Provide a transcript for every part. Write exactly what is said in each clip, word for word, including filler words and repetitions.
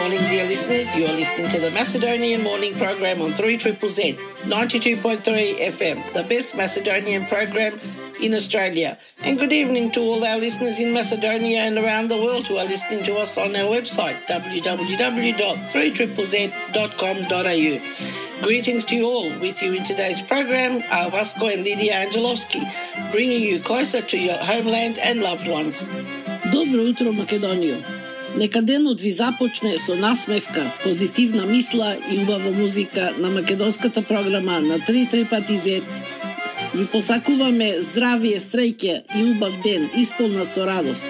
morning, dear listeners. You are listening to the Macedonian Morning Program on three Z Z Z, ninety-two point three F M, the best Macedonian program in Australia. And good evening to all our listeners in Macedonia and around the world who are listening to us on our website, w w w dot three z z z dot com dot a u. Greetings to you all. With you in today's program are Vasco and Lydia Angelovski, bringing you closer to your homeland and loved ones. Добро утро, Македонијо. Нека денот ви започне со насмевка, позитивна мисла и убава музика на македонската програма на три Z Z. Ви посакуваме здравие, среќа и убав ден, исполнат со радост.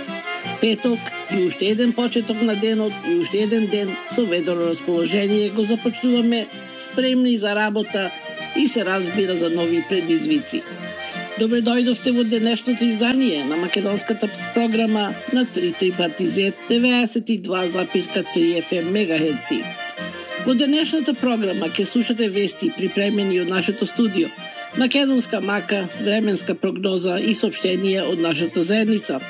Петок и уште еден почеток на денот и уште еден ден со ведро расположение го започнуваме, спремни за работа и се разбира за нови предизвици. Добре дојдовте во денешното издание на македонската програма на три Z Z деветдесет и два запир три F M мегахерци. Во денешната програма ќе слушате вести припремени од нашето студио, македонска мака, временска прогноза и соопштенија од нашата заедница.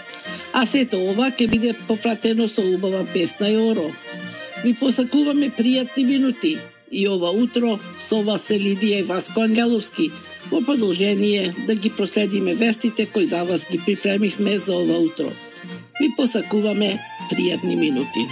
А сето ова ќе биде попратено со убава песна и оро. Ви посакуваме пријатни минути и ова утро со вас се Лидија и Васко Ангеловски, во продолжение да ги проследиме вестите кои за вас ги припремивме за ова утро. Ви посакуваме пријатни минути.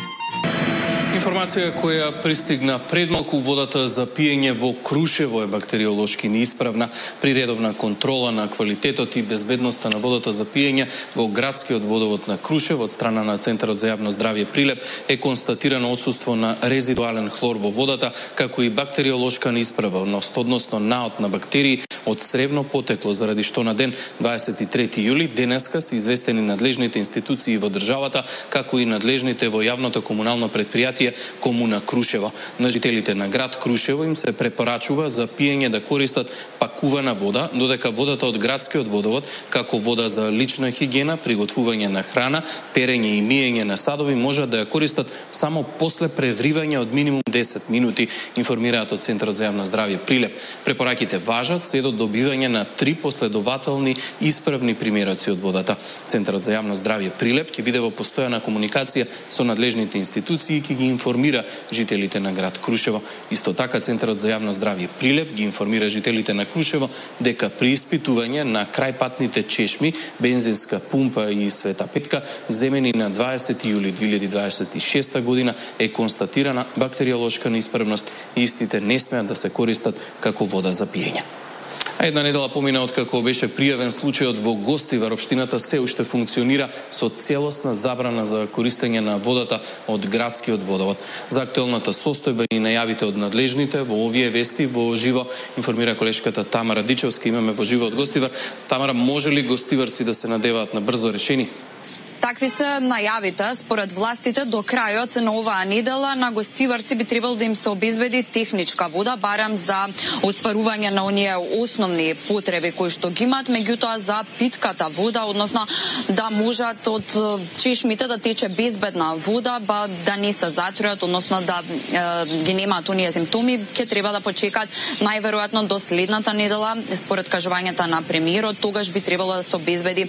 Информација која пристигна пред малку, водата за пиење во Крушево е бактериолошки неисправна. При редовна контрола на квалитетот и безбедноста на водата за пиење во градскиот водовод на Крушево од страна на Центарот за јавно здравје Прилеп е констатирано отсуство на резидуален хлор во водата, како и бактериолошка неисправност, односно наот на бактерии од сревно потекло, заради што на ден дваесет и трети јули денеска се известени надлежните институции во државата, како и надлежните во јавното комунално претпријатие Комуна Крушево. На жителите на град Крушево им се препорачува за пиење да користат пакувана вода, додека водата од градскиот водовод, како вода за лична хигиена, приготвување на храна, перење и миење на садови, можат да ја користат само после превривање од минимум десет минути, информираат од Центарот за јавно здравје Прилеп. Препораките важат се до добивање на три последователни исправни примероци од водата. Центарот за јавно здравје Прилеп ќе биде во постојана комуникација со надлежните институции и ќе ги информира жителите на град Крушево. Исто така Центарот за јавно здравје Прилеп ги информира жителите на Крушево дека при испитување на крајпатните чешми, бензинска пумпа и Света Петка, земени на дваесети јули две илјади дваесет и шеста година, е констатирана бактериолошка неисправност и истите не смеат да се користат како вода за пиење. А една недела помина од како беше пријавен случајот во Гостивар, општината се уште функционира со целосна забрана за користење на водата од градскиот водовод. За актуелната состојба и најавите од надлежните во овие вести во живо информира колешката Тамара Дичевска. Имаме во живо од Гостивар. Тамара, може ли гостиварци да се надеваат на брзо решение? Такви се најавите. Според властите, до крајот на оваа недела на гостиварци би требало да им се обезбеди техничка вода, барем за остварување на оние основни потреби кои што ги имаат, меѓутоа за питката вода, односно да можат од чешмите да тече безбедна вода, ба да не се затруат, односно да е, ги немаат оние симптоми, ќе треба да почекат најверојатно до следната недела. Според кажувањата на премиерот, тогаш би требало да се обезбеди е,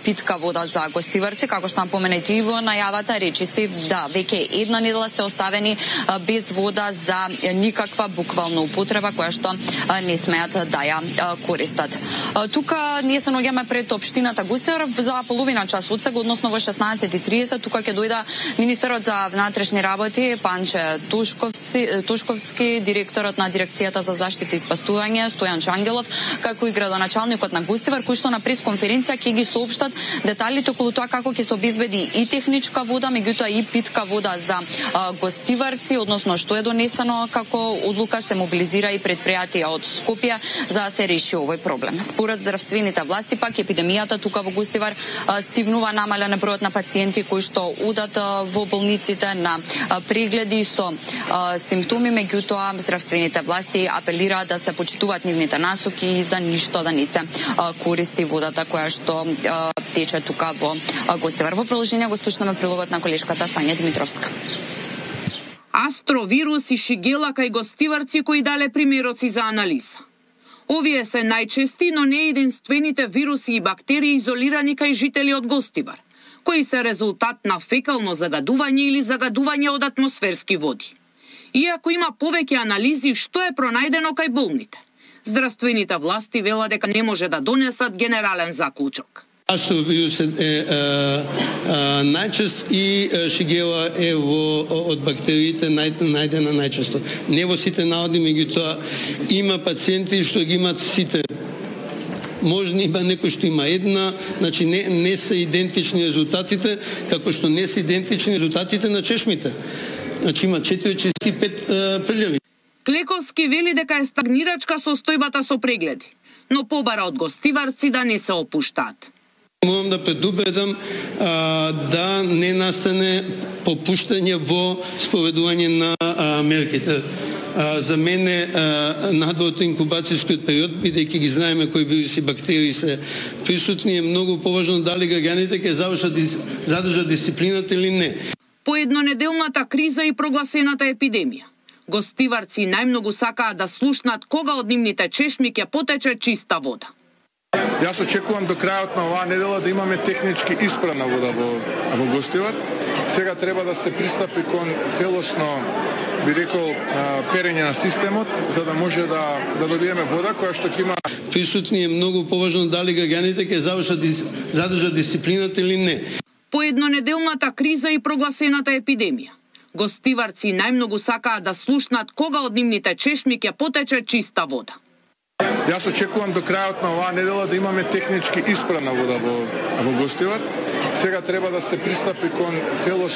питка вода за гостиварци. Како што напоменете и во најавата, речиси да веќе една недела се оставени а, без вода за никаква буквална употреба која што а, не смеат да ја а, користат. А, тука ние се наоѓаме пред општината Гостивар за половина час од сега, односно во шеснаесет и тридесет. Тука ќе дојде министерот за внатрешни работи Панче Тушковци, Тушковски, директорот на дирекцијата за заштита и спасување Стојан Чангелов, како и градоначалникот на Гостивар, кои што на пресконференција ќе ги соопштат деталите околу тоа како ќе се обезбеди и техничка вода, меѓутоа и питка вода за а, гостиварци, односно што е донесено како одлука, се мобилизира и предпријатија од Скопје за да се реши овој проблем. Според здравствените власти пак епидемијата тука во Гостивар а, стивнува, намален бројот на пациенти кои што одат а, во болниците на а, прегледи со а, симптоми, меѓутоа здравствените власти апелираат да се почитуваат нивните насоки и за ништо да не се а, користи водата која што а, тече тука во а, Гостивар. Во продолжение го слушнаме прилогот на колешката Сања Димитровска. Астровирус и шигела кај гостиварци кои дале примероци за анализа. Овие се најчести, но не единствените вируси и бактерии изолирани кај жители од Гостивар. кои се резултат на фекално загадување или загадување од атмосферски води. Иако има повеќе анализи што е пронајдено кај болните, здравствените власти велат дека не може да донесат генерален заклучок. Астов вирусот е а, а, најчест и шигела е во, од бактериите нај, најдена најчесто. Не во сите народи, меѓутоа има пациенти што ги имат сите. Може има некој што има една, значи не, не се идентични резултатите, како што не се идентични резултатите на чешмите. Значи има четири и пет прилеви. Клековски вели дека е стагнирачка состојбата со прегледи, но побара од гостиварци да не се опуштаат. Морам да предупредам а, да не настане попуштање во спроведување на а, мерките. А, за мене надвор од инкубацијскиот период, бидејќи ги знаеме кои вируси и бактерии се присутни, е многу поважно дали граѓаните ќе завршат задржат дисциплината или не. По еднонеделната криза и прогласената епидемија, гостиварци најмногу сакаат да слушнат кога од нивните чешми ќе потече чиста вода. Јас очекувам до крајот на оваа недела да имаме технички исправна вода во, во Гостивар. Сега треба да се пристапи кон целосно, би рекол, перење на системот, за да може да, да добиеме вода која што ќе има. Присутни е многу поважно дали граѓаните ќе завршат задржат дисциплината или не. По еднонеделната криза и прогласената епидемија, гостиварци најмногу сакаат да слушнат кога од нивните чешми ќе потече чиста вода. Јас очекувам до крајот на оваа недела да имаме технички исправна вода во, во Гостивар. Сега треба да се пристапи кон целосно